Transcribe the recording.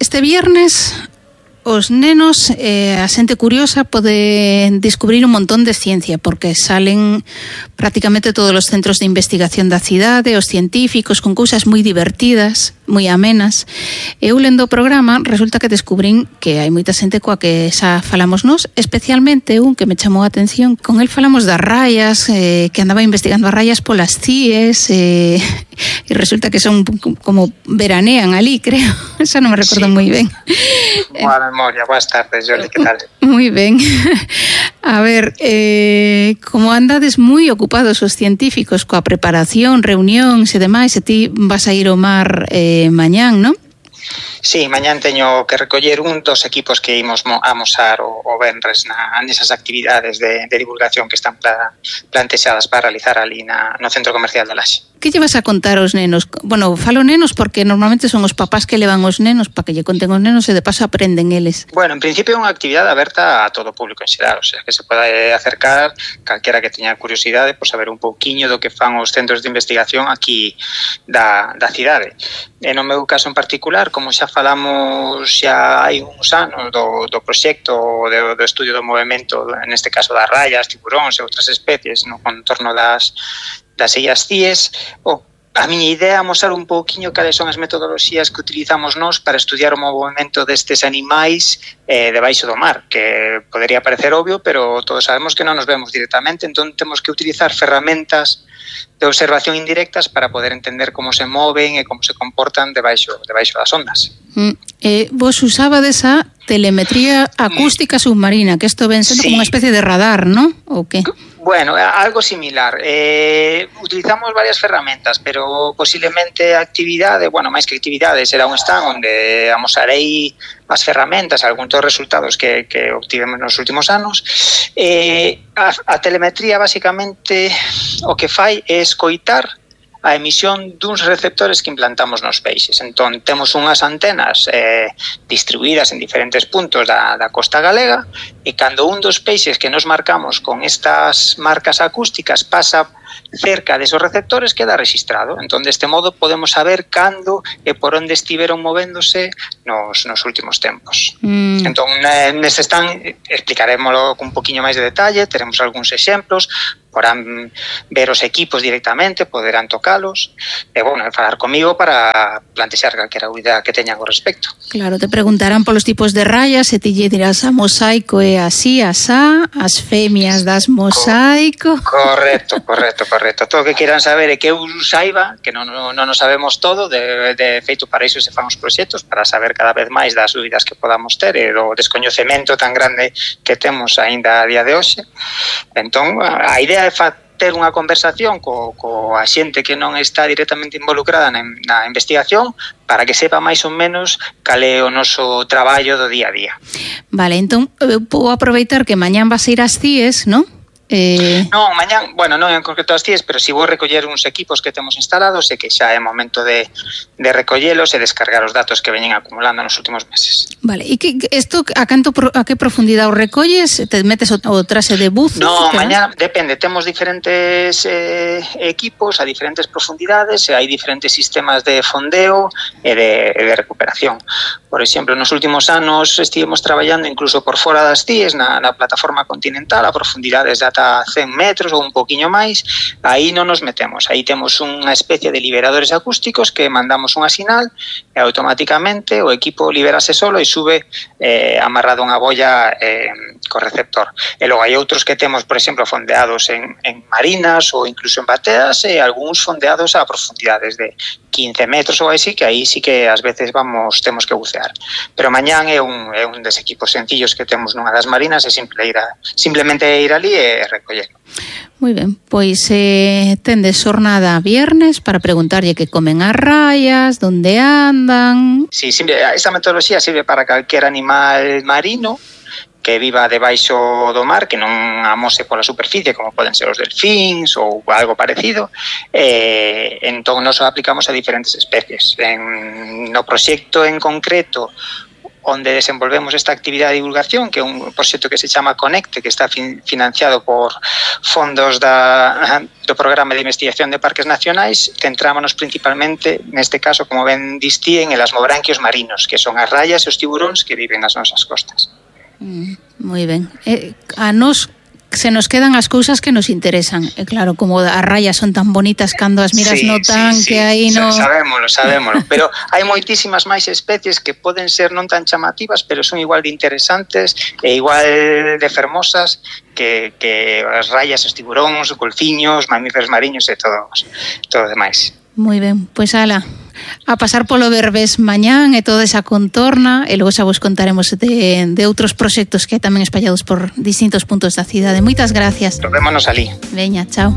Este viernes os nenos, a xente curiosa, pode descubrir un montón de ciencia, porque salen prácticamente todos os centros de investigación da cidade, os científicos, con cousas moi divertidas, moi amenas. Eu lendo o programa, resulta que descubrín que hai moita xente coa que xa falamos nós, especialmente un que me chamou a atención. Con el falamos das raias, que andaba investigando as raias polas CIES, e resulta que son como veranean ali, creo. Xa non me recordo moi ben. Boa memoria, boas tardes, Jordi, que tal? Moi ben. A ver, como andades moi ocupados os científicos coa preparación, reunións e demais, e ti vas a ir ao mar mañán, non? Sí, mañán teño que recoller un dos equipos que imos amosar o venres nesas actividades de divulgación que están plantexadas para realizar ali no Centro Comercial de Laxe. Que lle vas a contar aos nenos? Bueno, falo nenos porque normalmente son os papás que levan os nenos para que lle conten os nenos e de paso aprenden eles. Bueno, en principio é unha actividade aberta a todo o público en xeral, o sea, que se pode acercar calquera que teña curiosidade por saber un pouquiño do que fan os centros de investigación aquí da cidade. E no meu caso en particular, como xa falamos xa hai uns anos do proxecto do estudio do movimento, neste caso das raias, tiburóns e outras especies no contorno das illas CIES, a miña idea é mostrar un pouquiño cales son as metodoloxías que utilizamos nós para estudiar o movimento destes animais debaixo do mar, que podería parecer obvio, pero todos sabemos que non nos vemos directamente, entón temos que utilizar ferramentas de observación indirectas para poder entender como se moven e como se comportan debaixo das ondas. Vos usabades a telemetría acústica submarina, que isto ven sendo como unha especie de radar, non? Ou que? Bueno, algo similar. Utilizamos varias ferramentas, pero posiblemente a actividade, bueno, máis que actividade, será un stand onde amosarei as ferramentas, algúns dos resultados que obtivemos nos últimos anos. A telemetría, basicamente, o que fai é escoitar a emisión duns receptores que implantamos nos peixes. Entón, temos unhas antenas distribuídas en diferentes puntos da costa galega e cando un dos peixes que nos marcamos con estas marcas acústicas pasa cerca desos receptores, queda registrado. Entón, deste modo, podemos saber cando e por onde estiveron movéndose nos últimos tempos. Entón, neste stand explicarémoslo con un poquinho máis de detalle, teremos algúns exemplos, podrán ver os equipos directamente, poderán tocalos, e, bueno, falar comigo para plantexar calquera idea que teñan ao respecto. Claro, te preguntarán polos tipos de rayas, e ti lle dirás a mosaico é así, asá, as femias das mosaico. Correcto. Todo o que quieran saber é que eu saiba, que non nos sabemos todo, de feito para iso se fan os proxectos, para saber cada vez máis das dúbidas que podamos ter e do descoñecemento tan grande que temos aínda a día de hoxe. Entón, a idea é ter unha conversación coa xente que non está directamente involucrada na investigación para que sepa máis ou menos cal é o noso traballo do día a día. Vale, entón, vou aproveitar que mañán vas a ir ás CIES, non? Non, mañán, bueno, non en concreto as CIES, pero si vou recoller uns equipos que temos instalados e que xa é momento de recollelos e descargar os datos que veñen acumulando nos últimos meses. Vale, e isto a que profundidade o recolles? Te metes o traxe de buzo? Non, mañán depende, temos diferentes equipos a diferentes profundidades e hai diferentes sistemas de fondeo e de recuperación. Por exemplo, nos últimos anos estivemos traballando incluso por fora das CIES na plataforma continental a profundidades de ata 100 metros ou un poquinho máis, aí non nos metemos. Aí temos unha especie de liberadores acústicos que mandamos unha sinal e automáticamente o equipo liberase solo e sube amarrado unha boia co receptor. E logo hai outros que temos, por exemplo, fondeados en marinas ou incluso en bateas e algúns fondeados a profundidades de 15 metros ou así, que aí sí que ás veces temos que bucear. Pero mañán é un des equipos sencillos que temos nunha das marinas e simplemente ir ali e recollelo. Moi ben, pois tendes xornada viernes para preguntarlle que comen as raias, onde andan. Sí, esta metodoloxía sirve para calquer animal marino que viva debaixo do mar, que non amose pola superficie, como poden ser os delfíns ou algo parecido. Entón, nos aplicamos a diferentes especies. No proxecto en concreto, onde desenvolvemos esta actividade de divulgación, que é un proxecto que se chama Conecte, que está financiado por fondos do Programa de Investigación de Parques Nacionais. Centrámonos principalmente, neste caso, como ben distí, en elasmobranquios marinos, que son as raias e os tiburóns que viven nas nosas costas. Moi ben. A nos se nos quedan as cousas que nos interesan. E claro, como as rayas son tan bonitas cando as miras notan que aí no... Sabémolo, pero hai moitísimas máis especies que poden ser non tan chamativas, pero son igual de interesantes e igual de fermosas que as rayas, os tiburóns, os golfiños, mamíferos mariños e todo demais. Moi ben, pois ala, a pasar polo Berbés mañán e toda esa contorna, e logo xa vos contaremos de outros proxectos que tamén espallados por distintos puntos da cidade. Moitas gracias. Vémonos alí. Veña, chao.